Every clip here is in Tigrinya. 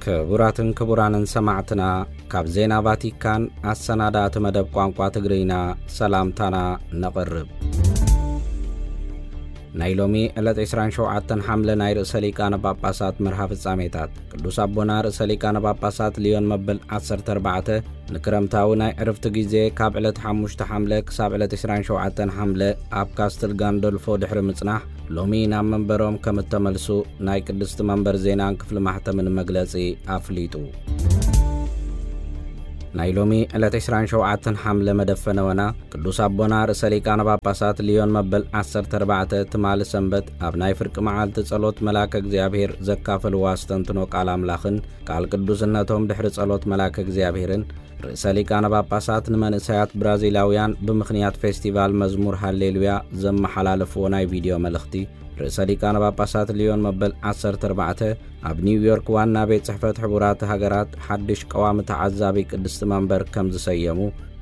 ክቡራትን ክቡራንን ሰማዕትና፣ ካብ ዜና ቫቲካን ኣሰናዳእቲ መደብ ቋንቋ ትግርኛ ሰላምታና ነቕርብ። ናይ ሎሚ ዕለት ዕስራን ሸውዓተን ሓምለ ናይ ርእሰ ሊቃነ ጳጳሳት መርሃ ፍጻሜታት። ቅዱስ ኣቦና ርእሰ ሊቃነ ጳጳሳት ሊዮን መበል ዓሰርተ ኣርባዕተ ንክረምታዊ ናይ ዕርፍቲ ግዜ ካብ ዕለት ሓሙሽተ ሓምለ ክሳብ ዕለት ዕስራን ሸውዓተን ሓምለ ኣብ ካስትል ጋንዶልፎ ድሕሪ ምጽናሕ፣ ሎሚ ናብ መንበሮም ከም እተመልሱ ናይ ቅድስቲ መንበር ዜናን ክፍሊ ማሕተምን መግለጺ ኣፍሊጡ። ናይ ሎሚ ዕለት ዕስራን ሸውዓተን ሓምለ መደብ ፈነወና፣ ቅዱስ ኣቦና ርእሰ ሊቃነ ጳጳሳት ሊዮን መበል ዓሰርተ ኣርባዕተ ትማሊ ሰንበት ኣብ ናይ ፍርቂ መዓልቲ ጸሎት መልኣከ እግዚኣብሔር ዘካፈልዎ ኣስተንትኖ ቃል ኣምላኽን ቃል ቅዱስነቶም ድሕሪ ጸሎት መልኣከ እግዚኣብሔርን፣ ርእሰ ሊቃነ ጳጳሳት ንመንእሰያት ብራዚላውያን ብምኽንያት ፌስቲቫል መዝሙር ሃሌሉያ ዘመሓላለፍዎ ናይ ቪድዮ መልእኽቲ፣ ርእሰ ሊቃነ ጳጳሳት ሊዮን መበል ዓሰርተ ኣርባዕተ ኣብ ኒውዮርክ ዋና ቤት ጽሕፈት ሕቡራት ሃገራት ሓድሽ ቀዋሚ ተዓዛቢ ቅድስቲ መንበር ከም ዝሰየሙ፣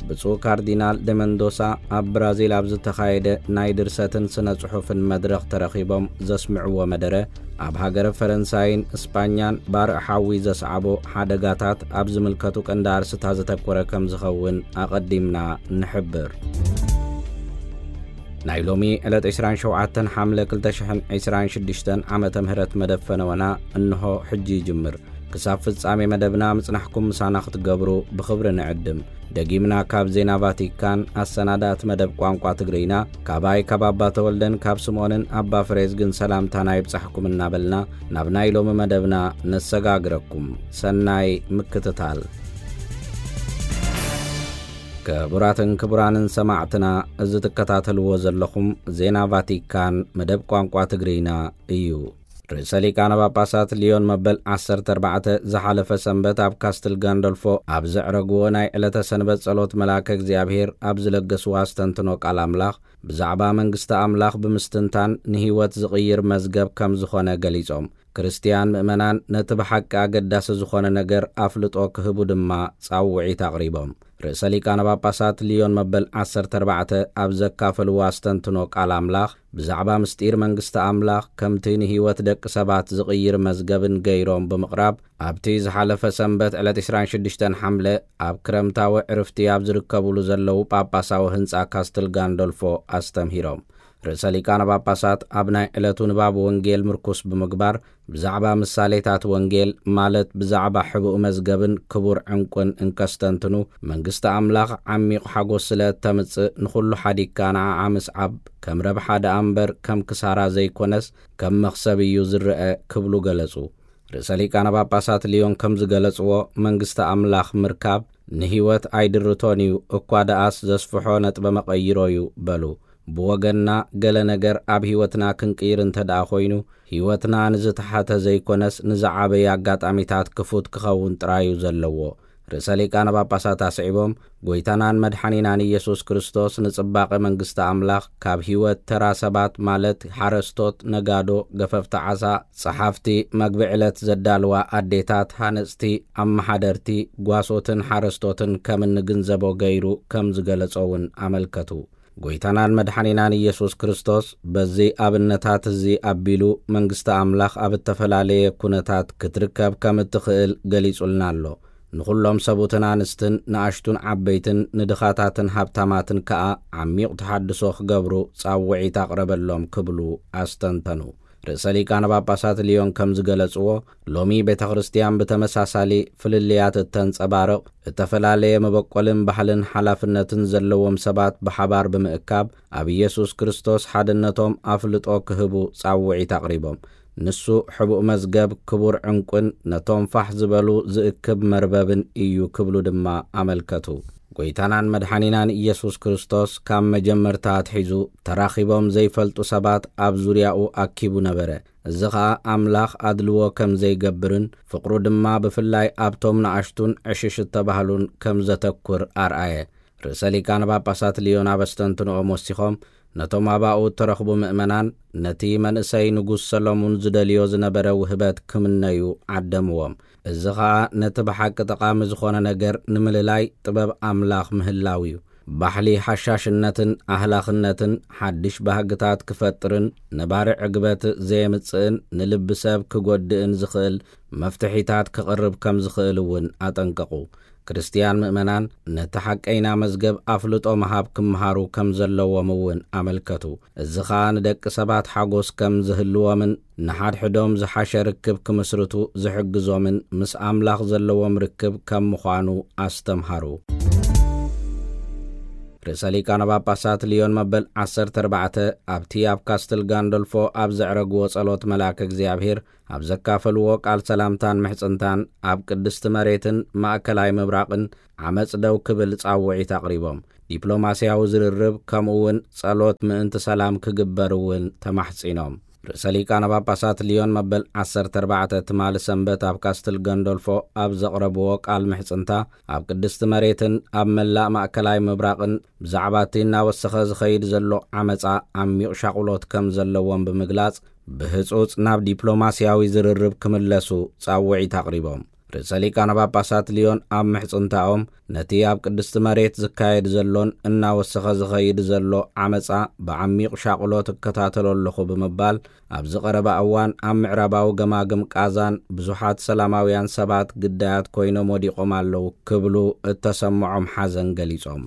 ብፁዕ ካርዲናል ደ መንዶሳ ኣብ ብራዚል ኣብ ዝተኻየደ ናይ ድርሰትን ስነ ጽሑፍን መድረኽ ተረኺቦም ዘስምዕዎ መደረ፣ ኣብ ሃገረ ፈረንሳይን እስጳኛን ባርዕ ሓዊ ዘስዓቦ ሓደጋታት ኣብ ዝምልከቱ ቀንዲ ኣርስታት ዘተኮረ ከም ዝኸውን ኣቐዲምና ንሕብር። ናይ ሎሚ ዕለት ዕስራን ሸውዓተን ሓምለ ክልተ ሽሕን ዕስራን ሽዱሽተን ዓመተ ምህረት መደብ ፈነወና እንሆ ሕጂ ይጅምር። ክሳብ ፍጻሜ መደብና ምጽናሕኩም ምሳና ክትገብሩ ብኽብሪ ንዕድም። ደጊምና ካብ ዜና ቫቲካን ኣሰናዳእቲ መደብ ቋንቋ ትግርኛ፣ ካባይ ካብ ኣባ ተወልደን ካብ ስምኦንን ኣባ ፍሬዝግን ሰላምታና ይብጻሕኩም እናበልና፣ ናብ ናይ ሎሚ መደብና ነሰጋግረኩም። ሰናይ ምክትታል። ክቡራትን ክቡራንን ሰማዕትና፣ እዚ ትከታተልዎ ዘለኹም ዜና ቫቲካን መደብ ቋንቋ ትግርኛ እዩ። ርእሰ ሊቃነ ጳጳሳት ሊዮን መበል ዓሰርተ ኣርባዕተ ዝሓለፈ ሰንበት ኣብ ካስትል ጋንዶልፎ ኣብ ዘዕረግዎ ናይ ዕለተ ሰንበት ጸሎት መልኣከ እግዚኣብሔር ኣብ ዝለገስዎ ኣስተንትኖ ቃል ኣምላኽ፣ ብዛዕባ መንግስቲ ኣምላኽ ብምስትንታን ንህይወት ዝቕይር መዝገብ ከም ዝኾነ ገሊጾም፣ ክርስትያን ምእመናን ነቲ ብሓቂ ኣገዳሲ ዝኾነ ነገር ኣፍልጦ ክህቡ ድማ ጻውዒት ኣቕሪቦም። ርእሰ ሊቃነ ጳጳሳት ሊዮን መበል ዓሰርተ ኣርባዕተ ኣብ ዘካፈልዎ ኣስተንትኖ ቃል ኣምላኽ፣ ብዛዕባ ምስጢር መንግስቲ ኣምላኽ ከምቲ ንህይወት ደቂ ሰባት ዝቕይር መዝገብን ገይሮም ብምቕራብ፣ ኣብቲ ዝሓለፈ ሰንበት ዕለት ዕስራን ሽዱሽተን ሓምለ ኣብ ክረምታዊ ዕርፍቲ ኣብ ዝርከቡሉ ዘለዉ ጳጳሳዊ ህንጻ ካስትል ጋንዶልፎ ኣስተምሂሮም። ርእሰ ሊቃነ ጳጳሳት ኣብ ናይ ዕለቱ ንባብ ወንጌል ምርኩስ ብምግባር፣ ብዛዕባ ምሳሌታት ወንጌል፣ ማለት ብዛዕባ ሕቡእ መዝገብን ክቡር ዕንቁን እንከስተንትኑ፣ መንግስቲ ኣምላኽ ዓሚቕ ሓጎስ ስለ እተምጽእ፣ ንኹሉ ሓዲግካ ንዓዓ ምስዓብ ከም ረብሓ ደኣ እምበር ከም ክሳራ ዘይኮነስ ከም መኽሰብ እዩ ዝረአ ክብሉ ገለጹ። ርእሰ ሊቃነ ጳጳሳት ሊዮን ከም ዝገለጽዎ፣ መንግስቲ ኣምላኽ ምርካብ ንህይወት ኣይድርቶን እዩ፣ እኳ ደኣስ ዘስፍሖ ነጥበ መቐይሮ እዩ በሉ። ብወገንና ገለ ነገር ኣብ ህይወትና ክንቅይር እንተ ደኣ ኮይኑ፣ ህይወትና ንዝተሓተ ዘይኮነስ ንዝዓበየ ኣጋጣሚታት ክፉት ክኸውን ጥራይ እዩ ዘለዎ። ርእሰ ሊቃነ ጳጳሳት ኣስዒቦም፣ ጎይታናን መድሓኒናን ኢየሱስ ክርስቶስ ንጽባቐ መንግስቲ ኣምላኽ ካብ ህይወት ተራ ሰባት፣ ማለት ሓረስቶት፣ ነጋዶ፣ ገፈፍቲ ዓሳ፣ ጸሓፍቲ፣ መግቢ ዕለት ዘዳልዋ ኣዴታት፣ ሃነጽቲ፣ ኣመሓደርቲ፣ ጓሶትን ሓረስቶትን ከም እንግንዘቦ ገይሩ ከም ዝገለጾ እውን ኣመልከቱ። ጎይታናን መድሓኒናን ኢየሱስ ክርስቶስ በዚ ኣብነታት እዚ ኣቢሉ መንግስቲ ኣምላኽ ኣብ እተፈላለየ ኩነታት ክትርከብ ከም እትኽእል ገሊጹልና ኣሎ። ንኹሎም ሰቡትን ኣንስትን፣ ንኣሽቱን ዓበይትን፣ ንድኻታትን ሃብታማትን ከኣ ዓሚቕ ተሓድሶ ክገብሩ ጻውዒት ኣቕረበሎም ክብሉ ኣስተንተኑ። ርእሰ ሊቃነ ጳጳሳት ሊዮን ከም ዝገለጽዎ፣ ሎሚ ቤተ ክርስትያን ብተመሳሳሊ ፍልልያት እተንጸባርቕ፣ እተፈላለየ መበቆልን ባህልን ሓላፍነትን ዘለዎም ሰባት ብሓባር ብምእካብ፣ ኣብ ኢየሱስ ክርስቶስ ሓድነቶም ኣፍልጦ ክህቡ ጻውዒት ኣቕሪቦም። ንሱ ሕቡእ መዝገብ፣ ክቡር ዕንቁን ነቶም ፋሕ ዝበሉ ዝእክብ መርበብን እዩ ክብሉ ድማ ኣመልከቱ። ጎይታናን መድሓኒናን ኢየሱስ ክርስቶስ ካብ መጀመርታ ኣትሒዙ ተራኺቦም ዘይፈልጡ ሰባት ኣብ ዙርያኡ ኣኪቡ ነበረ። እዚ ኸኣ ኣምላኽ ኣድልዎ ከም ዘይገብርን ፍቕሩ ድማ ብፍላይ ኣብቶም ንኣሽቱን ዕሽሽ እተባህሉን ከም ዘተኩር ኣርኣየ። ርእሰ ሊቃነ ጳጳሳት ሊዮን ኣብ ኣስተንትንኦም ወሲኾም፣ ነቶም ኣባኡ እተረኽቡ ምእመናን ነቲ መንእሰይ ንጉስ ሰሎሙን ዝደልዮ ዝነበረ ውህበት ክምነዩ ዓደምዎም። እዚ ኸኣ ነቲ ብሓቂ ጠቓሚ ዝኾነ ነገር ንምልላይ ጥበብ ኣምላኽ ምህላው እዩ። ባሕሊ ሓሻሽነትን ኣህላኽነትን ሓድሽ ባህግታት ክፈጥርን ነባሪ ዕግበት ዘየምጽእን ንልቢ ሰብ ክጎድእን ዝኽእል መፍትሒታት ክቕርብ ከም ዝኽእል እውን ኣጠንቀቑ። ክርስትያን ምእመናን ነቲ ሓቀይና መዝገብ ኣፍልጦ ምሃብ ክምሃሩ ከም ዘለዎም እውን ኣመልከቱ። እዚ ኸኣ ንደቂ ሰባት ሓጎስ ከም ዝህልዎምን ንሓድሕዶም ዝሓሸ ርክብ ክምስርቱ ዝሕግዞምን ምስ ኣምላኽ ዘለዎም ርክብ ከም ምዃኑ ኣስተምሃሩ። ርእሰ ሊቃነ ጳጳሳት ልዮን መበል ዓሰርተ ኣርባዕተ ኣብቲ ኣብ ካስትል ጋንዶልፎ ኣብ ዘዕረግዎ ጸሎት መልኣከ እግዚኣብሔር ኣብ ዘካፈልዎ ቃል ሰላምታን ምሕጽንታን ኣብ ቅድስቲ መሬትን ማእከላይ ምብራቕን ዓመጽ ደው ክብል ጻውዒት ኣቕሪቦም። ዲፕሎማስያዊ ዝርርብ ከምኡ እውን ጸሎት ምእንቲ ሰላም ክግበር እውን ተማሕጺኖም። ርእሰ ሊቃነ ጳጳሳት ልዮን መበል ዓሰርተ ኣርባዕተ ትማሊ ሰንበት ኣብ ካስትል ገንዶልፎ ኣብ ዘቕረብዎ ቃል ምሕጽንታ ኣብ ቅድስቲ መሬትን ኣብ መላእ ማእከላይ ምብራቕን ብዛዕባ እቲ እናወሰኸ ዝኸይድ ዘሎ ዓመጻ ዓሚቕ ሻቕሎት ከም ዘለዎም ብምግላጽ ብህጹጽ ናብ ዲፕሎማስያዊ ዝርርብ ክምለሱ ጻውዒት ኣቕሪቦም። ርእሰ ሊቃነ ጳጳሳት ልዮን ኣብ ምሕጽንታኦም ነቲ ኣብ ቅድስቲ መሬት ዝካየድ ዘሎን እናወሰኸ ዝኸይድ ዘሎ ዓመጻ ብዓሚቕ ሻቕሎት እከታተሎ ኣለኹ ብምባል ኣብዚ ቀረባ እዋን ኣብ ምዕራባዊ ገማግም ቃዛን ብዙሓት ሰላማውያን ሰባት ግዳያት ኮይኖም ወዲቖም ኣለዉ ክብሉ እተሰምዖም ሓዘን ገሊጾም።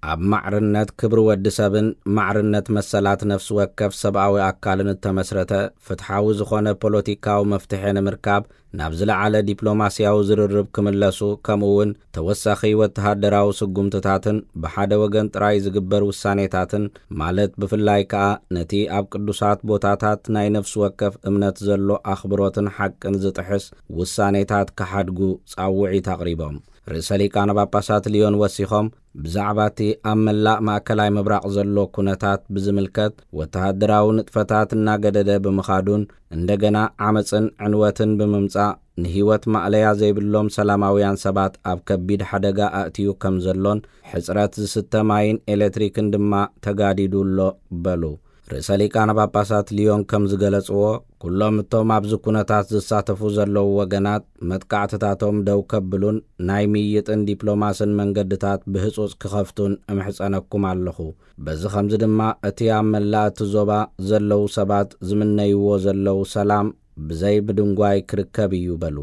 ኣብ ማዕርነት ክብሪ ወዲ ሰብን ማዕርነት መሰላት ነፍሲ ወከፍ ሰብኣዊ ኣካልን እተመስረተ ፍትሓዊ ዝኾነ ፖለቲካዊ መፍትሒ ንምርካብ ናብ ዝለዓለ ዲፕሎማስያዊ ዝርርብ ክምለሱ ከምኡ እውን ተወሳኺ ወተሃደራዊ ስጉምትታትን ብሓደ ወገን ጥራይ ዝግበር ውሳኔታትን ማለት ብፍላይ ከኣ ነቲ ኣብ ቅዱሳት ቦታታት ናይ ነፍሲ ወከፍ እምነት ዘሎ ኣኽብሮትን ሓቅን ዝጥሕስ ውሳኔታት ክሓድጉ ጻውዒት ኣቕሪቦም። ርእሰ ሊቃነ ጳጳሳት ልዮን ወሲኾም ብዛዕባ እቲ ኣብ መላእ ማእከላይ ምብራቕ ዘሎ ኩነታት ብዝምልከት ወተሃደራዊ ንጥፈታት እናገደደ ብምኻዱን እንደገና ዓመጽን ዕንወትን ብምምጻእ ንህይወት ማእለያ ዘይብሎም ሰላማውያን ሰባት ኣብ ከቢድ ሓደጋ ኣእትዩ ከም ዘሎን ሕጽረት ዝስተ ማይን ኤሌክትሪክን ድማ ተጋዲዱ ኣሎ በሉ። ርእሰ ሊቃነ ጳጳሳት ልዮን ከም ዝገለጽዎ ኩሎም እቶም ኣብዚ ኩነታት ዝሳተፉ ዘለዉ ወገናት መጥቃዕትታቶም ደው ከብሉን ናይ ምይጥን ዲፕሎማስን መንገድታት ብህጹጽ ክኸፍቱን እምሕጸነኩም ኣለኹ። በዚ ኸምዚ ድማ እቲ ኣብ መላእ እቲ ዞባ ዘለዉ ሰባት ዝምነይዎ ዘለዉ ሰላም ብዘይ ምድንጓይ ክርከብ እዩ በሉ።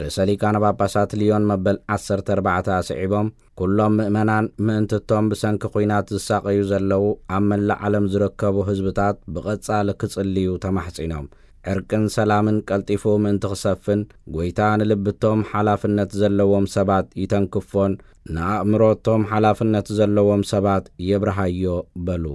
ርእሰ ሊቃነ ጳጳሳት ልዮን መበል ዓሰርተ ኣርባዕተ ኣስዒቦም ኩሎም ምእመናን ምእንቲ እቶም ብሰንኪ ኲናት ዝሳቐዩ ዘለዉ ኣብ መላእ ዓለም ዝርከቡ ህዝብታት ብቐጻሊ ክጽልዩ ተማሕጺኖም። ዕርቅን ሰላምን ቀልጢፉ ምእንቲ ክሰፍን ጐይታ ንልብቶም ሓላፍነት ዘለዎም ሰባት ይተንክፎን ንኣእምሮቶም ሓላፍነት ዘለዎም ሰባት የብርሃዮ በሉ።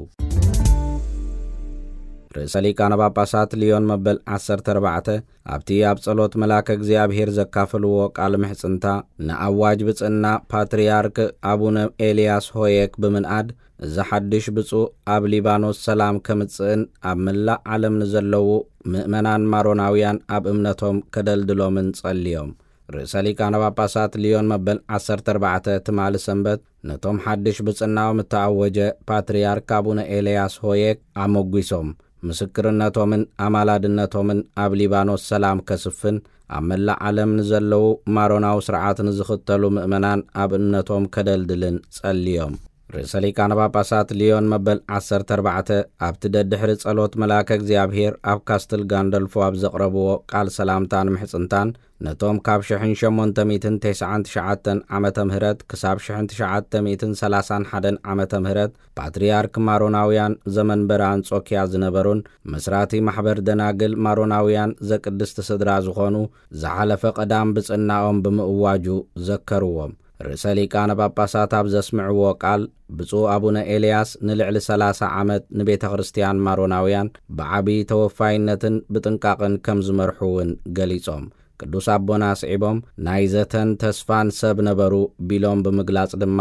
ርእሰ ሊቃነ ጳጳሳት ልዮን መበል ዓሰርተ ኣርባዕተ ኣብቲ ኣብ ጸሎት መልኣከ እግዚኣብሔር ዘካፈልዎ ቃል ምሕጽንታ ንኣዋጅ ብጽና ፓትርያርክ ኣቡነ ኤልያስ ሆየክ ብምንኣድ እዚ ሓድሽ ብፁዕ ኣብ ሊባኖስ ሰላም ከምጽእን ኣብ መላእ ዓለም ንዘለዉ ምእመናን ማሮናውያን ኣብ እምነቶም ከደልድሎምን ጸልዮም። ርእሰ ሊቃነ ጳጳሳት ልዮን መበል ዓሰርተ ኣርባዕተ ትማሊ ሰንበት ነቶም ሓድሽ ብጽናኦም እተኣወጀ ፓትርያርክ ኣቡነ ኤልያስ ሆየክ ኣመጒሶም ምስክርነቶምን ኣማላድነቶምን ኣብ ሊባኖስ ሰላም ከስፍን ኣብ መላእ ዓለም ንዘለዉ ማሮናዊ ስርዓት ንዝኽተሉ ምእመናን ኣብ እምነቶም ከደልድልን ጸልዮም። ርእሰ ሊቃነ ጳጳሳት ልዮን መበል ዓሰርተ ኣርባዕተ ኣብቲ ደድሕሪ ጸሎት መልኣከ እግዚኣብሔር ኣብ ካስትል ጋንደልፎ ኣብ ዘቕረብዎ ቃል ሰላምታን ምሕጽንታን ነቶም ካብ ሽሕን ሸሞንተ ሚእትን ተስዓን ትሽዓተን ዓመተ ምህረት ክሳብ ሽሕን ትሽዓተ ሚእትን ሰላሳን ሓደን ዓመተ ምህረት ፓትርያርክ ማሮናውያን ዘመንበረ ኣንጾኪያ ዝነበሩን መስራቲ ማሕበር ደናግል ማሮናውያን ዘቅድስቲ ስድራ ዝኾኑ ዝሓለፈ ቀዳም ብጽናኦም ብምእዋጁ ዘከርዎም። ርእሰ ሊቃነ ጳጳሳት ኣብ ዘስምዕዎ ቃል ብፁዕ ኣቡነ ኤልያስ ንልዕሊ ሰላሳ ዓመት ንቤተ ክርስቲያን ማሮናውያን ብዓቢ ተወፋይነትን ብጥንቃቕን ከም ዝመርሑ እውን ገሊጾም። ቅዱስ ኣቦና ኣስዒቦም ናይ ዘተን ተስፋን ሰብ ነበሩ ቢሎም ብምግላጽ ድማ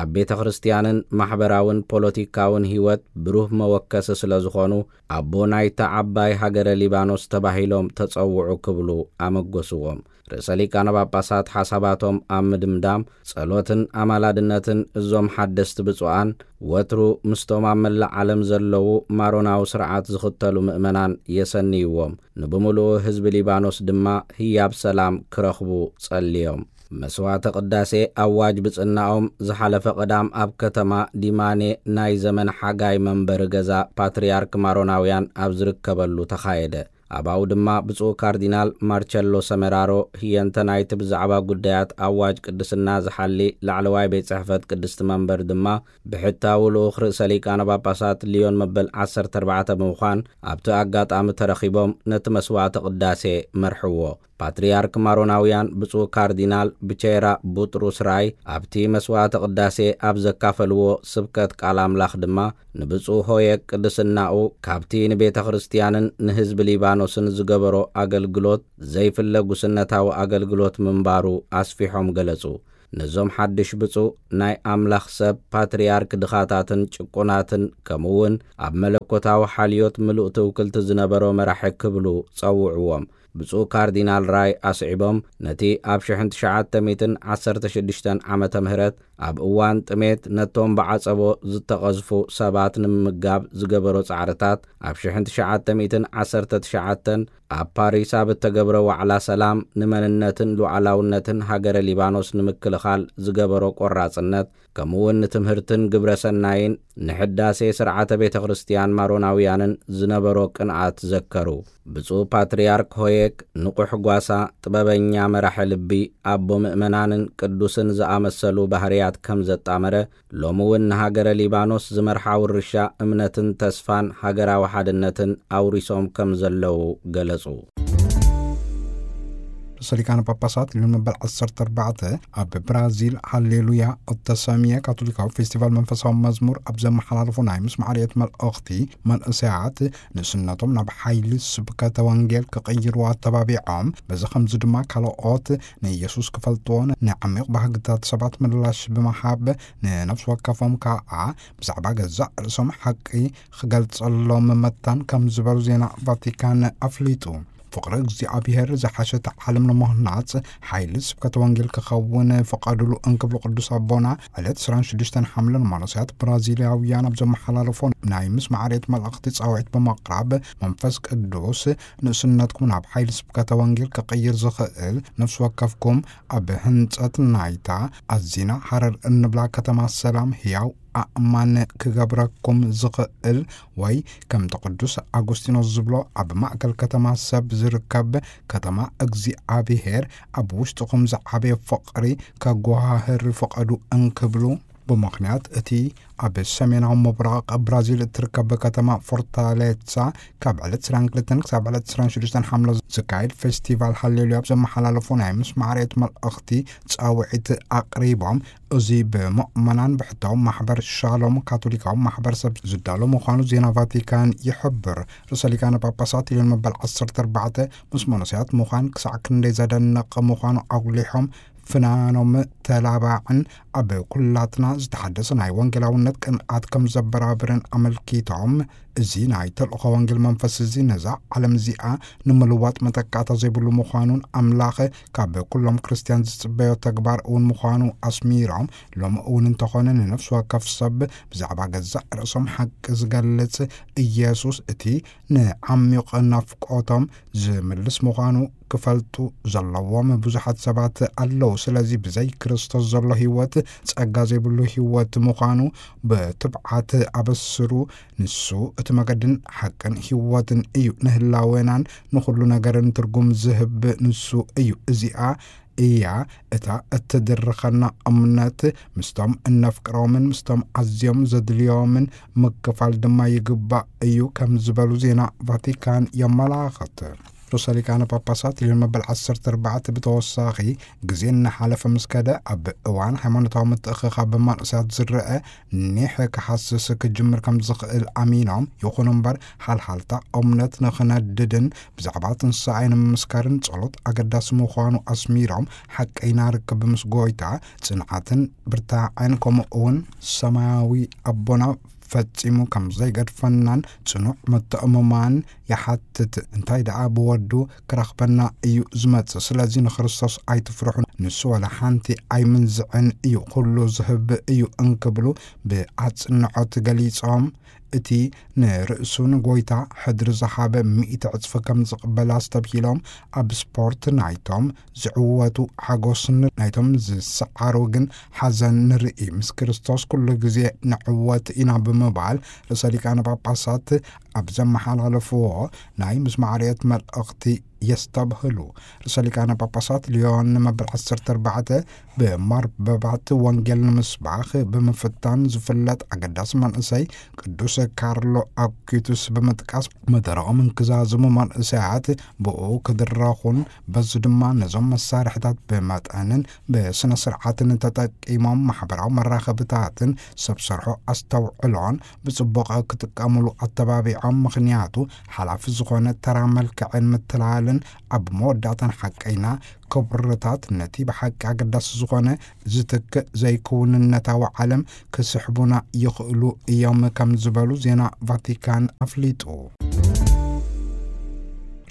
ኣብ ቤተ ክርስቲያንን ማሕበራውን ፖለቲካውን ህይወት ብሩህ መወከሲ ስለ ዝኾኑ ኣቦ ናይታ ዓባይ ሃገረ ሊባኖስ ተባሂሎም ተጸውዑ ክብሉ ኣመጎስዎም። ርእሰ ሊቃነ ጳጳሳት ሓሳባቶም ኣብ ምድምዳም ጸሎትን ኣማላድነትን እዞም ሓደስቲ ብፁዓን ወትሩ ምስቶም ኣብ መላእ ዓለም ዘለዉ ማሮናዊ ስርዓት ዝኽተሉ ምእመናን የሰንይዎም። ንብምሉኡ ህዝቢ ሊባኖስ ድማ ህያብ ሰላም ክረኽቡ ጸልዮም። መስዋዕተ ቅዳሴ ኣዋጅ ብጽናኦም ዝሓለፈ ቀዳም ኣብ ከተማ ዲማኔ ናይ ዘመን ሓጋይ መንበሪ ገዛ ፓትርያርክ ማሮናውያን ኣብ ዝርከበሉ ተኻየደ። ኣባኡ ድማ ብፁዕ ካርዲናል ማርቸሎ ሰመራሮ ህየንተ ናይቲ ብዛዕባ ጉዳያት ኣዋጅ ቅድስና ዝሓሊ ላዕለዋይ ቤት ጽሕፈት ቅድስቲ መንበር ድማ ብሕታዊ ልኡኽ ርእሰ ሊቃነ ጳጳሳት ሊዮን መበል ዓሰርተ ኣርባዕተ ብምዃን ኣብቲ ኣጋጣሚ ተረኺቦም ነቲ መስዋዕተ ቅዳሴ መርሕዎ። ፓትርያርክ ማሮናውያን ብፁዕ ካርዲናል ብቼራ ቡጥሩስ ራይ ኣብቲ መስዋዕተ ቅዳሴ ኣብ ዘካፈልዎ ስብከት ቃል ኣምላኽ ድማ ንብፁዕ ሆየ ቅድስናኡ ካብቲ ንቤተ ክርስቲያንን ንህዝቢ ሊባኖስን ዝገበሮ ኣገልግሎት ዘይፍለ ጉስነታዊ ኣገልግሎት ምንባሩ ኣስፊሖም ገለጹ። ነዞም ሓድሽ ብፁዕ ናይ ኣምላኽ ሰብ ፓትርያርክ ድኻታትን ጭቁናትን ከምኡውን ኣብ መለኮታዊ ሓልዮት ምሉእ ትውክልቲ ዝነበሮ መራሒ ክብሉ ጸውዕዎም። ብፁዕ ካርዲናል ራይ ኣስዒቦም ነቲ ኣብ ሽሕን ትሽዓተ ሚእትን ዓሰርተ ሽዱሽተን ዓመተ ምህረት ኣብ እዋን ጥሜት ነቶም ብዓጸቦ ዝተቐዝፉ ሰባት ንምምጋብ ዝገበሮ ጻዕርታት ኣብ ሽሕን ትሽዓተ ሚእትን ዓሰርተ ትሽዓተን ኣብ ፓሪስ ኣብ እተገብረ ዋዕላ ሰላም ንመንነትን ሉዓላውነትን ሃገረ ሊባኖስ ንምክልኻል ዝገበሮ ቆራጽነት ከምኡውን ንትምህርትን ግብረ ሰናይን ንሕዳሴ ስርዓተ ቤተ ክርስቲያን ማሮናውያንን ዝነበሮ ቅንኣት ዘከሩ። ብፁዕ ፓትርያርክ ሆየክ ንቑሕ ጓሳ፣ ጥበበኛ መራሒ ልቢ፣ ኣቦ ምእመናንን ቅዱስን ዝኣመሰሉ ባህርያት ከም ዘጣመረ፣ ሎሚ እውን ንሃገረ ሊባኖስ ዝመርሓ ውርሻ እምነትን ተስፋን ሃገራዊ ሓድነትን ኣውሪሶም ከም ዘለዉ ገለጹ። ርእሰ ሊቃነ ጳጳሳት ሊዮን መበል ዓሰርተ ኣርባዕተ ኣብ ብራዚል ሃሌሉያ እተሰምየ ካቶሊካዊ ፌስቲቫል መንፈሳዊ መዝሙር ኣብ ዘመሓላለፎ ናይ ምስማዕ ርእየት መልእኽቲ፣ መንእሰያት ንእስነቶም ናብ ሓይሊ ስብከተ ወንጌል ክቕይርዎ ኣተባቢዖም፣ በዚ ከምዚ ድማ ካልኦት ንኢየሱስ ክፈልጥዎ ንዓሚቕ ባህግታት ሰባት ምላሽ ብምሃብ፣ ንነፍሲ ወከፎም ከኣ ብዛዕባ ገዛእ ርእሶም ሓቂ ክገልጸሎም መታን ከም ዝበሉ ዜና ቫቲካን ኣፍሊጡ። ፍቕሪ እግዚኣብሔር ዝሓሸት ዓለም ንምኽናጽ ሓይሊ ስብከተ ወንጌል ክኸውን ፍቐዱሉ እንክብሉ ቅዱስ ኣቦና ዕለት ዕስራን ሽዱሽተን ሓምለ ንመነኮሳት ብራዚላውያን ኣብ ዘመሓላለፎ ናይ ምስማዕ ርእየት መልእኽቲ ጻውዒት ብምቕራብ መንፈስ ቅዱስ ንእስነትኩም ናብ ሓይሊ ስብከተ ወንጌል ክቕይር ዝኽእል ነፍሲ ወከፍኩም ኣብ ህንጸት ናይታ ኣዚና ሃረር እንብላ ከተማ ሰላም ህያው ኣእማን ክገብረኩም ዝኽእል ወይ ከምቲ ቅዱስ ኣጉስቲኖስ ዝብሎ ኣብ ማእከል ከተማ ሰብ ዝርከብ ከተማ እግዚኣብሔር ኣብ ውሽጥኹም ዝዓበየ ፍቕሪ ከጓህር ፍቐዱ እንክብሉ ብምኽንያት እቲ ኣብ ሰሜናዊ ምብራቕ ብራዚል እትርከብ ከተማ ፎርታሌሳ ካብ ዕለት ዕስራን ክልተን ክሳብ ዕለት ዕስራን ሽዱሽተን ሓምለ ዝካየድ ፌስቲቫል ሃሌሉያ ኣብ ዘመሓላለፎ ናይ ምስማዕ ርእየት መልእኽቲ ጻውዒት ኣቕሪቦም። እዚ ብምእመናን ብሕታዊ ማሕበር ሻሎም ካቶሊካዊ ማሕበረሰብ ዝዳሎ ምዃኑ ዜና ቫቲካን ይሕብር። ርእሰ ሊቃነ ጳጳሳት ሊዮን መበል ዓሰርተ ኣርባዕተ ምስ መነኮሳት ምዃን ክሳዕ ክንደይ ዘደንቕ ምዃኑ ኣጉሊሖም፣ ፍናኖም ተላባዕን ኣብ ኩላትና ዝተሓደሰ ናይ ወንጌላውነት ቅንኣት ከም ዘበራብርን ኣመልኪቶም፣ እዚ ናይ ተልእኾ ወንጌል መንፈስ እዚ ነዛ ዓለም እዚኣ ንምልዋጥ መተካእታ ዘይብሉ ምዃኑን ኣምላኽ ካብ ኩሎም ክርስትያን ዝጽበዮ ተግባር እውን ምዃኑ ኣስሚሮም፣ ሎሚ እውን እንተኾነ ንነፍሲ ወከፍ ሰብ ብዛዕባ ገዛእ ርእሶም ሓቂ ዝገልጽ ኢየሱስ እቲ ንዓሚቕ ናፍቆቶም ዝምልስ ምዃኑ ክፈልጡ ዘለዎም ብዙሓት ሰባት ኣለዉ። ስለዚ ብዘይ ክርስቶስ ዘሎ ህይወት ጸጋ ዘይብሉ ህይወት ምዃኑ ብትብዓት ኣበስሩ። ንሱ እቲ መገድን ሓቅን ህይወትን እዩ። ንህላዌናን ንኹሉ ነገርን ትርጉም ዝህብ ንሱ እዩ። እዚኣ እያ እታ እትድርኸና እምነት። ምስቶም እነፍቅሮምን ምስቶም ኣዝዮም ዘድልዮምን ምክፋል ድማ ይግባእ እዩ ከም ዝበሉ ዜና ቫቲካን የመላኽት። ርእሰ ሊቃነ ጳጳሳት ሊዮን መበል ዓሰርተ ኣርባዕተ ብተወሳኺ፣ ግዜ እናሓለፈ ምስ ከደ ኣብ እዋን ሃይማኖታዊ ምትእኽኻብ መናእሰያት ዝረአ ኒሕ ክሃስስ ክጅምር ከም ዝኽእል ኣሚኖም፣ ይኹን እምበር፣ ሓልሓልታ እምነት ንኽነድድን ብዛዕባ ትንሳኤ ንምምስካርን ጸሎት ኣገዳሲ ምዃኑ ኣስሚሮም፣ ሓቀይና ርክብ ምስ ጎይታ ጽንዓትን ብርታዐን፣ ከምኡ እውን ሰማያዊ ኣቦና ፈጺሙ ከም ዘይገድፈናን ጽኑዕ ምትእምማን ይሓትት። እንታይ ደኣ ብወዱ ክረኽበና እዩ ዝመጽእ። ስለዚ ንክርስቶስ ኣይትፍርሑ፣ ንሱ ዋላ ሓንቲ ኣይምንዝዕን እዩ፣ ኩሉ ዝህብ እዩ እንክብሉ ብኣጽንዖት ገሊጾም፣ እቲ ንርእሱን ጎይታ ሕድሪ ዝሃበ ሚእቲ ዕጽፊ ከም ዝቕበል ኣስተብሂሎም፣ ኣብ ስፖርት ናይቶም ዝዕወቱ ሓጎስን ናይቶም ዝሰዓሩ ግን ሓዘን ንርኢ። ምስ ክርስቶስ ኩሉ ግዜ ንዕወት ኢና ብምባል ርእሰ ሊቃነ ጳጳሳት ኣብ ዘመሓላለፍዎ ናይ ምስማዕ ርዕየት መልእኽቲ የስተብህሉ። ርእሰ ሊቃነ ጳጳሳት ሊዮን መበል ዓሰርተ ኣርባዕተ ብማርበባት ወንጌል ንምስባኽ ብምፍታን ዝፍለጥ ኣገዳሲ መንእሰይ ቅዱስ ካርሎ ኣኩቱስ ብምጥቃስ፣ መደረኦም እንክዛዝሙ መንእሰያት ብኡ ክድረኹን በዚ ድማ ነዞም መሳርሕታት ብመጠንን ብስነ ስርዓትን ተጠቂሞም ማሕበራዊ መራኸብታትን ሰብ ሰርሖ ኣስተውዕሎን ብጽቡቕ ክጥቀሙሉ ኣተባቢዖም። ምኽንያቱ ሓላፊ ዝኾነ ተራ መልክዕን ምትላልን ኣብ መወዳእታን ሓቀይና ክብርታት ነቲ ብሓቂ ኣገዳሲ ዝኾነ ዝትክእ ዘይክውንነታዊ ዓለም ክስሕቡና ይኽእሉ እዮም ከም ዝበሉ ዜና ቫቲካን ኣፍሊጡ።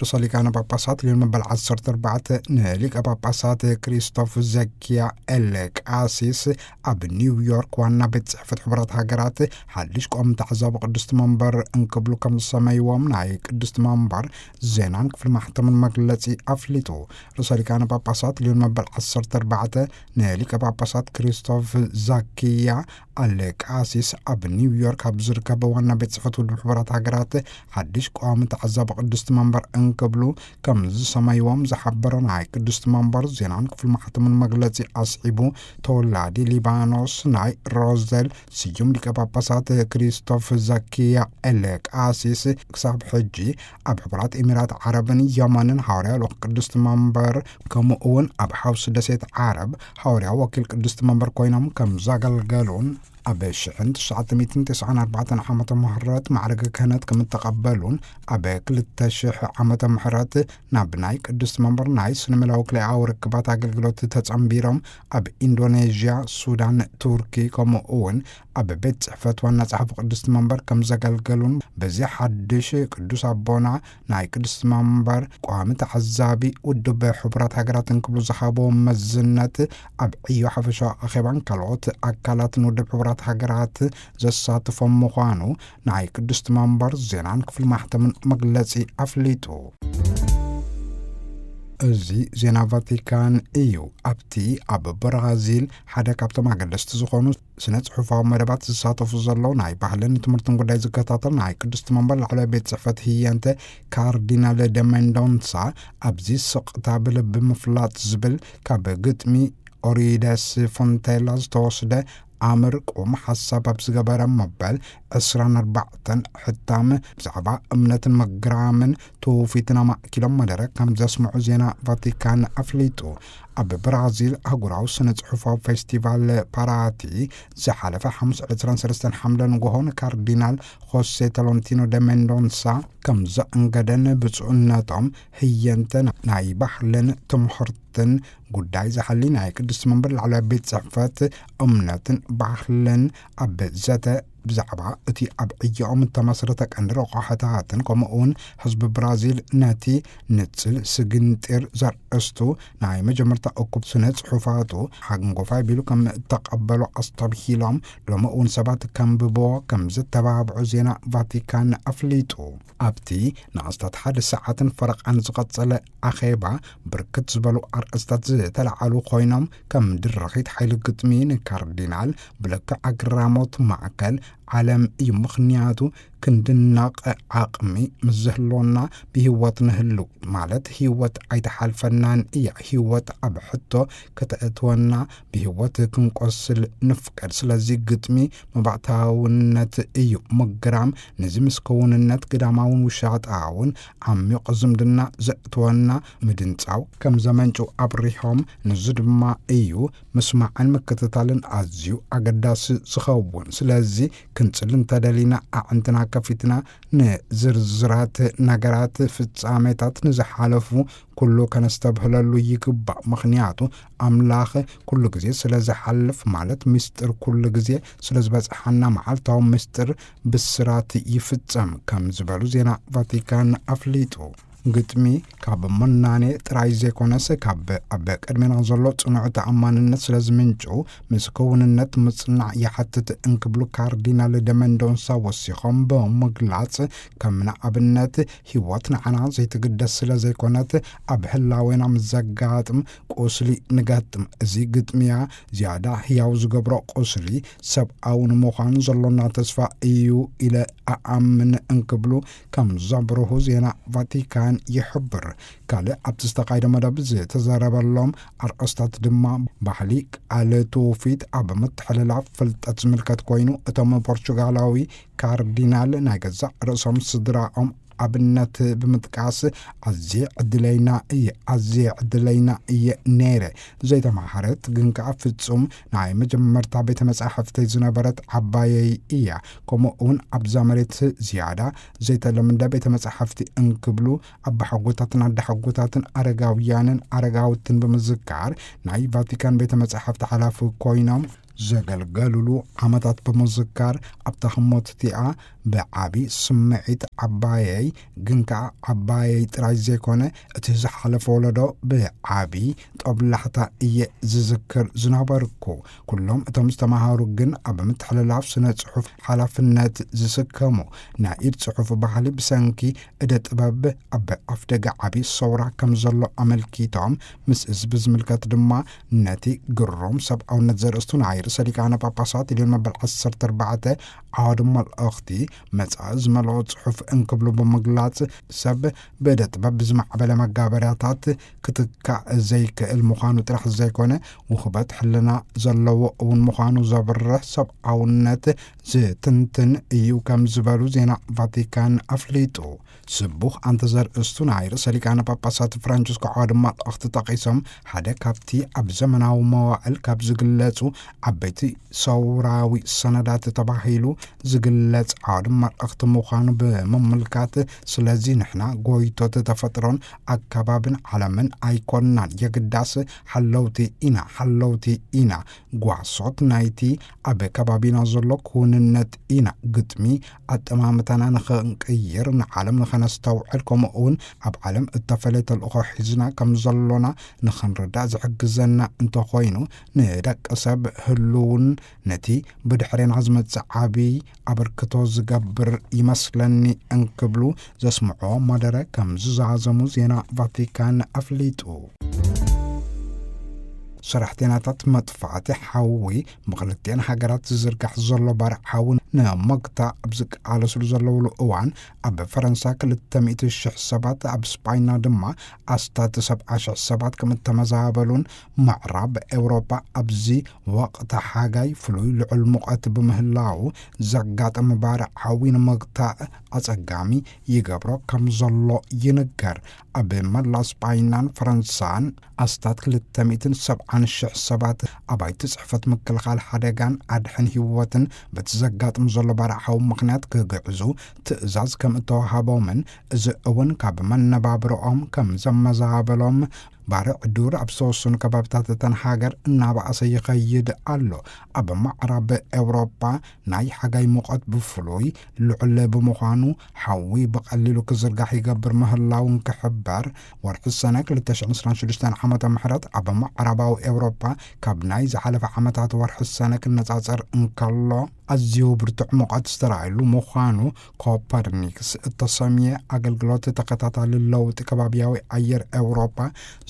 ርእሰ ሊቃነ ጳጳሳት ሊዮን መበል ዓሰርተ ኣርባዕተ ንሊቀ ጳጳሳት ክሪስቶፍ ዘኪያ ኤል ቃሲስ ኣብ ኒውዮርክ ዋና ቤት ጽሕፈት ሕቡራት ሃገራት ሓድሽ ቆም ተዓዛቢ ቅድስቲ መንበር እንክብሉ ከም ዝሰመይዎም ናይ ቅድስቲ መንበር ዜናን ክፍሊ ማሕተምን መግለጺ ኣፍሊጡ። ርእሰ ሊቃነ ጳጳሳት ሊዮን መበል ዓሰርተ ኣርባዕተ ንሊቀ ጳጳሳት ክሪስቶፍ ዛኪያ ኣሌቃሲስ ኣብ ኒውዮርክ ኣብ ዝርከብ ዋና ቤት ጽሕፈት ውድብ ሕቡራት ሃገራት ሓድሽ ቀዋሚ ተዓዛቢ ቅድስቲ መንበር እንክብሉ ከም ዝሰመይዎም ዝሓበረ ናይ ቅድስቲ መንበር ዜናን ክፍሊ ማሕተምን መግለጺ ኣስዒቡ፣ ተወላዲ ሊባኖስ ናይ ሮዘል ስዩም ሊቀ ጳጳሳት ክሪስቶፍ ዛኪያ ኤሌቃሲስ ክሳብ ሕጂ ኣብ ሕቡራት ኤሚራት ዓረብን የመንን ሃዋርያ ልኡኽ ቅድስቲ መንበር፣ ከምኡ እውን ኣብ ሓውሲ ደሴት ዓረብ ሃዋርያ ወኪል ቅድስቲ መንበር ኮይኖም ከም ዘገልገሉን ኣብ ሽሕን ትሽዓተ ሚእትን ተስዓን ኣርባዕተን ዓመተ ምህረት ማዕረገ ክህነት ከም እተቐበሉን ኣብ ክልተ ሽሕ ዓመተ ምህረት ናብ ናይ ቅድስቲ መንበር ናይ ስነ ሜላዊ ክልኤኣዊ ርክባት ኣገልግሎት ተጸንቢሮም ኣብ ኢንዶኔዥያ፣ ሱዳን፣ ቱርኪ ከምኡ እውን ኣብ ቤት ጽሕፈት ዋና ጸሓፊ ቅድስቲ መንበር ከም ዘገልገሉን በዚ ሓድሽ ቅዱስ ኣቦና ናይ ቅድስቲ መንበር ቋሚ ተዓዛቢ ውድብ ሕቡራት ሃገራት እንክብሉ ዝሃቦ መዝነት ኣብ ዕዮ ሓፈሻዊ ኣኼባን ካልኦት ኣካላትን ውድብ ሕቡራት ሃገራት ዘሳትፎም ምዃኑ ናይ ቅድስቲ መንበር ዜናን ክፍሊ ማሕተምን መግለጺ ኣፍሊጡ። እዚ ዜና ቫቲካን እዩ። ኣብቲ ኣብ ብራዚል ሓደ ካብቶም ኣገደስቲ ዝኾኑ ስነ ጽሑፋዊ መደባት ዝሳተፉ ዘለዉ ናይ ባህልን ትምህርትን ጉዳይ ዝከታተል ናይ ቅድስቲ መንበር ላዕለዋይ ቤት ጽሕፈት ህየንተ ካርዲናል ደ ሜንዶንሳ ኣብዚ ስቕታ ብልቢ ምፍላጥ ዝብል ካብ ግጥሚ ኦሪደስ ፎንቴላ ዝተወስደ ኣምር ቁም ሓሳብ ኣብ ዝገበረ መበል ዕስራን ኣርባዕተን ሕታም ብዛዕባ እምነትን ምግራምን ትውፊትን ኣማእኪሎም መደረ ከም ዘስምዑ ዜና ቫቲካን ኣፍሊጡ። ኣብ ብራዚል ኣህጉራዊ ስነ ጽሑፋዊ ፌስቲቫል ፓራቲ ዝሓለፈ ሓሙስ ዕስራን ሰለስተን ሓምለ ንግሆ ንካርዲናል ሆሴ ቶሎንቲኖ ደ ሜንዶንሳ ከም ዘእንገደን ብፁዕነቶም ህየንተ ናይ ባህልን ትምህርትን ጉዳይ ዝሓሊ ናይ ቅድስቲ መንበር ላዕለዋይ ቤት ጽሕፈት እምነትን ባህልን ኣብ ዘተ ብዛዕባ እቲ ኣብ ዕዮኦም እተመስረተ ቀንዲ ረቋሕታትን ከምኡ እውን ህዝቢ ብራዚል ነቲ ንጽል ስግንጢር ዘርእስቱ ናይ መጀመርታ እኩብ ስነ ጽሑፋቱ ሓንጎፋይ ቢሉ ከም እተቐበሎ ኣስተብሂሎም፣ ሎሚ እውን ሰባት ከንብቦ ከም ዝተባብዑ ዜና ቫቲካን ኣፍሊጡ። ኣብቲ ንኣስታት ሓደ ሰዓትን ፈረቓን ዝቐጸለ ኣኼባ ብርክት ዝበሉ ኣርእስታት ዝተለዓሉ ኮይኖም፣ ከም ድርኺት ሓይሊ ግጥሚ ንካርዲናል ብልክዕ ኣግራሞት ማእከል ዓለም እዩ። ምኽንያቱ ክንድነቕ ዓቕሚ ምስ ዝህልወና ብህይወት ንህሉ፣ ማለት ህይወት ኣይተሓልፈናን እያ። ህይወት ኣብ ሕቶ ከተእትወና፣ ብህይወት ክንቆስል ንፍቀድ። ስለዚ ግጥሚ መባእታውነት እዩ። ምግራም ነዚ ምስ ክውንነት ግዳማውን ውሻጣውን ዓሚቕ ዝምድና ዘእትወና ምድንጻው ከም ዘመንጭው ኣብሪሆም፣ ንዚ ድማ እዩ ምስማዕን ምክትታልን ኣዝዩ ኣገዳሲ ዝኸውን። ስለዚ ክንጽሊ እንተደሊና ኣዕንትና ከፊትና ንዝርዝራት ነገራት ፍጻሜታት ንዝሓለፉ ኩሉ ከነስተብህለሉ ይግባእ። ምኽንያቱ ኣምላኽ ኩሉ ግዜ ስለ ዝሓልፍ፣ ማለት ምስጢር ኩሉ ግዜ ስለ ዝበጽሓና፣ መዓልታዊ ምስጢር ብስራት ይፍጸም ከም ዝበሉ ዜና ቫቲካን ኣፍሊጡ። ግጥሚ ካብ መናኔ ጥራይ ዘይኮነስ፣ ካብ ኣብ ቅድሜና ዘሎ ጽኑዕ ተኣማንነት ስለ ዝምንጩ፣ ምስ ክውንነት ምጽናዕ ይሓትት እንክብሉ ካርዲናል ደመንዶንሳ ወሲኾም ብምግላጽ፣ ከም ንኣብነት፣ ህይወት ንዓና ዘይትግደስ ስለ ዘይኮነት፣ ኣብ ህላዌና ምስ ዘጋጥም ቁስሊ ንገጥም። እዚ ግጥሚያ ዝያዳ ህያው ዝገብሮ ቁስሊ ሰብኣዊ ንምዃን ዘሎና ተስፋ እዩ ኢለ እኣምን እንክብሉ ከም ዘብርሁ ዜና ቫቲካን ይሕብር። ካልእ ኣብቲ ዝተኻየደ መደብ ዝተዘረበሎም ኣርእስታት ድማ፣ ባህሊ፣ ቃል፣ ትውፊት ኣብ ምትሕልላፍ ፍልጠት ዝምልከት ኮይኑ፣ እቶም ፖርቹጋላዊ ካርዲናል ናይ ገዛእ ርእሶም ስድራኦም ኣብነት ብምጥቃስ፣ ኣዝየ ዕድለይና እየ፣ ኣዝየ ዕድለይና እየ ነይረ። ዘይተማህረት ግን ከኣ ፍጹም ናይ መጀመርታ ቤተ መጻሕፍተይ ዝነበረት ዓባየይ እያ። ከምኡ እውን ኣብዛ መሬት ዝያዳ ዘይተለምደ ቤተ መጻሕፍቲ እንክብሉ፣ ኣባሓጎታትን ኣዳሓጎታትን ኣረጋውያንን ኣረጋውትን ብምዝካር፣ ናይ ቫቲካን ቤተ መጻሕፍቲ ሓላፊ ኮይኖም ዘገልገሉሉ ዓመታት ብምዝካር፣ ኣብታ ህሞት እቲኣ ብዓቢ ስምዒት ዓባየይ፣ ግን ከኣ ዓባየይ ጥራይ ዘይኮነ፣ እቲ ዝሓለፈ ወለዶ ብዓቢ ጦብላሕታ እየ ዝዝክር ዝነበርኩ። ኩሎም እቶም ዝተማሃሩ ግን ኣብ ምትሕልላፍ ስነ ጽሑፍ ሓላፍነት ዝስከሙ፣ ናይ ኢድ ጽሑፍ ባህሊ ብሰንኪ እደ ጥበብ ኣብ ኣፍደገ ዓቢ ሰውራ ከም ዘሎ ኣመልኪቶም፣ ምስ እዚ ብዝምልከት ድማ፣ ነቲ ግሩም ሰብኣውነት ዘርእስቱ ናይ ርእሰ ሊቃነ ጳጳሳት ልዮን መበል ዓሰርተ ኣርባዕተ ዓወዲ መልእኽቲ መጻኢ ዝመልኦ ጽሑፍ እንክብሉ ብምግላጽ፣ ሰብ ብእደ ጥበብ ብዝማዕበለ መጋበርያታት ክትካእ ዘይክእል ምዃኑ ጥራሕ ዘይኮነ፣ ውህበት ሕልና ዘለዎ እውን ምዃኑ ዘብርህ ሰብኣውነት ዝትንትን እዩ ከም ዝበሉ ዜና ቫቲካን ኣፍሊጡ። ስቡሕ ኣንተ ዘርእስቱ ናይ ርእሰ ሊቃነ ጳጳሳት ፍራንቸስኮ ዓወዲ መልእኽቲ ጠቒሶም፣ ሓደ ካብቲ ኣብ ዘመናዊ መዋዕል ካብ ዝግለጹ ዓበይቲ ሰውራዊ ሰነዳት ተባሂሉ ዝግለጽ ዓወዲ መልእኽቲ ምዃኑ ብምምልካት፣ ስለዚ ንሕና ጎይቶት ተፈጥሮን ኣከባብን ዓለምን ኣይኮንናን፣ የግዳስ ሓለውቲ ኢና፣ ሓለውቲ ኢና፣ ጓሶት ናይቲ ኣብ ከባቢና ዘሎ ክውንነት ኢና። ግጥሚ ኣጠማምታና ንኽንቅይር፣ ንዓለም ንኸነስተውዕል፣ ከምኡ እውን ኣብ ዓለም እተፈለየ ተልእኾ ሒዝና ከም ዘሎና ንኽንርዳእ ዝሕግዘና እንተኾይኑ፣ ንደቂ ሰብ ህልውን ነቲ ብድሕሬና ዝመጽእ ዓቢ ኣበርክቶ ዝገብር ይመስለኒ እንክብሉ ዘስምዖ መደረ ከም ዝዛዘሙ ዜና ቫቲካን ኣፍሊጡ። ሰራሕተኛታት መጥፋእቲ ሓዊ ብክልቲአን ሃገራት ዝዝርጋሕ ዘሎ ባርዕ ሓዊ ንምግታእ ኣብ ዝቃለስሉ ዘለውሉ እዋን፣ ኣብ ፈረንሳ ክልተ ሚእቲ ሽሕ ሰባት፣ ኣብ ስጳይና ድማ ኣስታት ሰብዓ ሽሕ ሰባት ከም እተመዛበሉን፣ ምዕራብ ኤውሮጳ ኣብዚ ወቕቲ ሓጋይ ፍሉይ ልዑል ሙቐት ብምህላው ዘጋጥም ባርዕ ሓዊ ንምግታእ ኣጸጋሚ ይገብሮ ከም ዘሎ ይንገር። ኣብ መላ ስጳይናን ፈረንሳን ኣስታት ክልተ ሚእትን ሰብዓን ሽሕ ሰባት ኣባይቲ ጽሕፈት ምክልኻል ሓደጋን ኣድሕን ህይወትን በቲ ዘጋጥም ዘሎ ባርዕ ሓዊ ምኽንያት ክግዕዙ ትእዛዝ ከም እተዋሃቦምን፣ እዚ እውን ካብ መነባብሮኦም ከም ዘመዛበሎም፣ ባርዕ ዱር ኣብ ዝተወሰኑ ከባቢታት እተን ሃገር እናበኣሰ ይኸይድ ኣሎ። ኣብ ምዕራብ ኤውሮጳ ናይ ሓጋይ ሙቐት ብፍሉይ ልዑል ብምዃኑ፣ ሓዊ ብቐሊሉ ክዝርጋሕ ይገብር ምህላውን ክሕበር፣ ወርሒ ሰነ ክልተ ሽሕን ዕስራን ሽዱሽተን ዓመተ ምሕረት ኣብ ምዕራባዊ ኤውሮጳ ካብ ናይ ዝሓለፈ ዓመታት ወርሒ ሰነ ክነጻጸር እንከሎ፣ ኣዝዩ ብርቱዕ ሙቐት ዝተራእየሉ ምዃኑ ኮፐርኒክስ እተሰምየ ኣገልግሎት ተኸታታሊ ለውጢ ከባብያዊ ኣየር ኤውሮጳ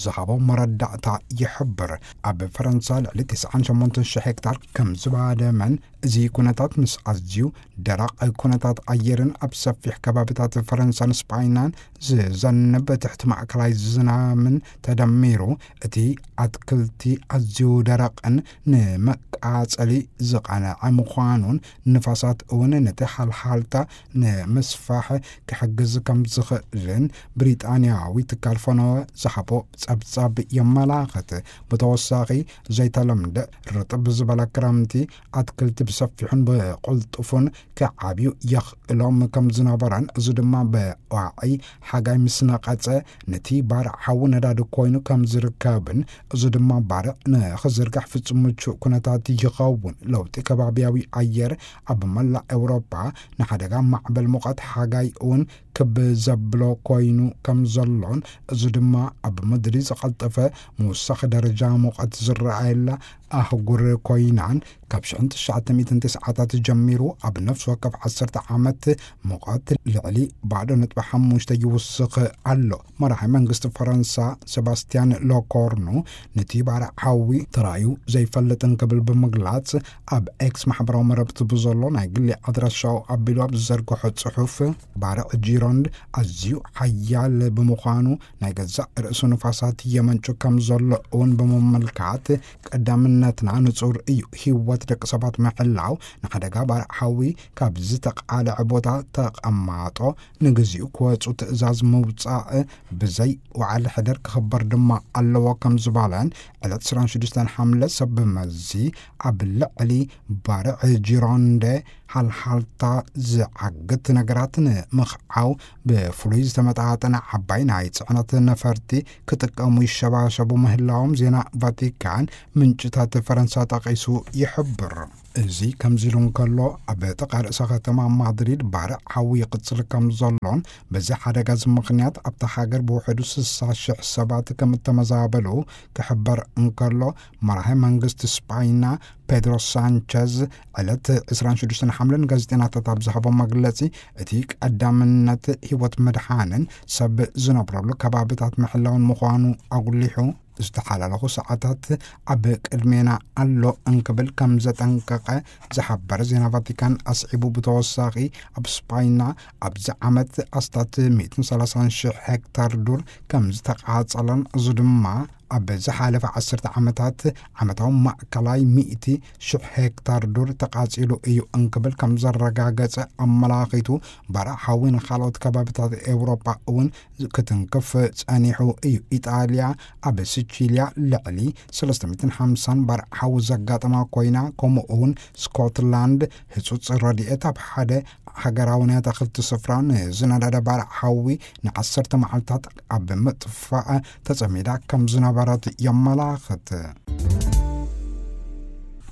ዝሃቦ መረዳእታ ይሕብር። ኣብ ፈረንሳ ልዕሊ ተስዓን ሸሞንተን ሽሕ ሄክታር ከም ዝባደመን፣ እዚ ኩነታት ምስ ኣዝዩ ደረቕ ኩነታት ኣየርን ኣብ ሰፊሕ ከባቢታት ፈረንሳን ስጳይናን ዝዘንብ ትሕቲ ማእከላይ ዝናምን ተደሚሩ፣ እቲ ኣትክልቲ ኣዝዩ ደረቕን ንመቃጸሊ ዝቐንዐ ምዃኑን፣ ንፋሳት እውን ነቲ ሓልሓልታ ንምስፋሕ ክሕግዝ ከም ዝኽእልን፣ ብሪጣንያዊ ትካል ፈነወ ዝሃቦ ጸብጻብ የመላኽት። ብተወሳኺ፣ ዘይተለምደ ርጥብ ዝበለ ክረምቲ፣ ኣትክልቲ ብሰፊሑን ብቕልጡፉን ክዓብዩ የኽእሎም ከም ዝነበረን፣ እዚ ድማ ብዋዒ ሓጋይ ምስ ነቐጸ፣ ነቲ ባርዕ ሓዊ ነዳዲ ኮይኑ ከም ዝርከብን፣ እዚ ድማ ባርዕ ንኽዝርጋሕ ፍጹም ምቹእ ኩነታት ይኸውን። ለውጢ ከባብያዊ ኣየር ኣብ መላእ ኤውሮጳ ንሓደጋ ማዕበል ሙቐት ሓጋይ እውን ክብ ዘብሎ ኮይኑ ከም ዘሎን፣ እዚ ድማ ኣብ ምድሪ ዝቐልጠፈ ምውሳኽ ደረጃ ሙቐት ዝረኣየላ ኣህጉር ኮይናን፣ ካብ ሽሕን ትሽዓተ ሚእትን ተስዓታት ጀሚሩ ኣብ ነፍሲ ወከፍ ዓሰርተ ዓመት ሙቐት ልዕሊ ባዶ ነጥቢ ሓሙሽተ ይውስኽ ኣሎ። መራሒ መንግስቲ ፈረንሳ ሰባስቲያን ሎኮርኑ፣ ነቲ ባርዕ ሓዊ ተራዩ ዘይፈልጥን ክብል ብምግላጽ፣ ኣብ ኤክስ ማሕበራዊ መረብቲ ብዘሎ ናይ ግሊ ኣድራሻኡ ኣቢሉ ኣብ ዝዘርግሖ ጽሑፍ፣ ባርዕ ጂሮንድ ኣዝዩ ሓያል ብምዃኑ፣ ናይ ገዛእ ርእሱ ንፋሳት የመንጩ ከም ዘሎ እውን ብምምልካት፣ ቀዳምነትና ንጹር እዩ። ህይወት ደቂ ሰባት ምሕላው፣ ንሓደጋ ባርዕ ሓዊ ካብ ዝተቓልዐ ቦታ ተቐማጦ ንግዚኡ ክወጹ ትእዛዝ ምውጻእ ብዘይ ወዓል ሕደር ክኽበር ድማ ኣለዎ ከም ዝበለን፣ ዕለት ዕስራን ሽዱሽተን ሓምለ ሰብ መዚ ኣብ ልዕሊ ባርዕ ጂሮንደ ሃልሃልታ ዝዓግት ነገራት ንምኽዓው ብፍሉይ ዝተመጣጠነ ዓባይ ናይ ጽዕነት ነፈርቲ ክጥቀሙ ይሸባሸቡ ምህላዎም ዜና ቫቲካን ምንጭታት ፈረንሳ ጠቒሱ ይሕብር። እዚ ከምዚ ኢሉ እንከሎ፣ ኣብ ጥቓ ርእሰ ከተማ ማድሪድ ባርዕ ሓዊ ይቕጽል ከም ዘሎን፣ በዚ ሓደጋ እዚ ምኽንያት ኣብታ ሃገር ብውሕዱ ስሳ ሽሕ ሰባት ከም እተመዛበሉ ክሕበር እንከሎ፣ መራሒ መንግስቲ ስጳይና ፔድሮ ሳንቸዝ ዕለት ዕስራን ሽዱሽተን ሓምለ ንጋዜጠኛታት ኣብ ዝሃቦ መግለጺ፣ እቲ ቀዳምነት ህይወት ምድሓንን ሰብ ዝነብረሉ ከባብታት ምሕላውን ምዃኑ ኣጉሊሑ፣ ዝተሓላለኹ ሰዓታት ኣብ ቅድሜና ኣሎ እንክብል ከም ዘጠንቀቐ ዝሓበረ ዜና ቫቲካን ኣስዒቡ፣ ብተወሳኺ ኣብ ስጳይና ኣብዚ ዓመት ኣስታት ሚእትን ሰላሳን ሽሕ ሄክታር ዱር ከም ዝተቓጸለን፣ እዚ ድማ ኣብ ዝሓለፈ ዓሰርተ ዓመታት ዓመታዊ ማእከላይ ሚእቲ ሽሕ ሄክታር ዱር ተቓጺሉ እዩ እንክብል ከም ዘረጋገጸ ኣመላኺቱ፣ ባርዕ ሓዊ ንኻልኦት ከባብታት ኤውሮጳ እውን ክትንክፍ ጸኒሑ እዩ። ኢጣልያ ኣብ ሲቺልያ ልዕሊ ሰለስተ ሚእትን ሓምሳን ባርዕ ሓዊ ዘጋጠማ ኮይና፣ ከምኡ እውን ስኮትላንድ ህጹጽ ረድኤት ኣብ ሓደ ሃገራዊ ናይ ኣታኽልቲ ስፍራ ንዝነደደ ባርዕ ሓዊ ንዓሰርተ መዓልታት ኣብ ምጥፋእ ተጸሚዳ ከም ዝነበረት የመላኽት።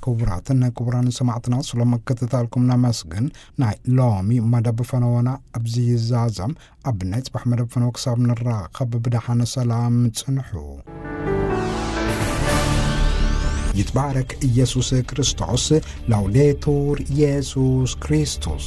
ክቡራትን ክቡራን ሰማዕትና፣ ስለ ምክትታልኩም ነመስግን። ናይ ሎሚ መደብ ፈነወና ኣብዚ ይዛዘም። ኣብ ናይ ጽባሕ መደብ ፈነወ ክሳብ ንራኸብ ብደሓን ሰላም ጽንሑ። ይትባረክ ኢየሱስ ክርስቶስ። ላውዴቱር ኢየሱስ ክርስቶስ።